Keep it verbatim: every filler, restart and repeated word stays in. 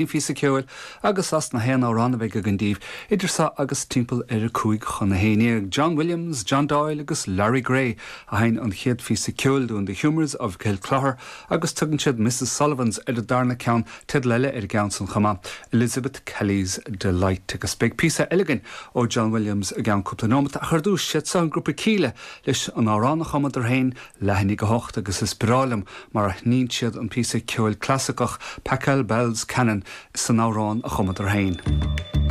phíosa ceoil agus as na haon amhrán a bheidh againn daoibh idir seo agus timpeall ar a cúig chun a haon déag. John Williams, John Doyle agus Larry Gray a sheinn an chéad phíosa ceoil dúinn The Humours of Kilclogher agus tugann siad Mrs Sullivan's ar an darna ceann teideal eile ar an gceann san chomh maith Elizabeth Kelly's Delight agus beidh píosa eile againn ó John Williams i gceann cúpla nóiméad ach ar dtús siad seo an grúpa Kíla leis an amhrán a chumadar féin leath i ndiaidh a hocht agus is breá liom mar a sheinneann siad an píosa ceoil clasaiceach Pachelbel's Canon san amhrán a chumadar féin.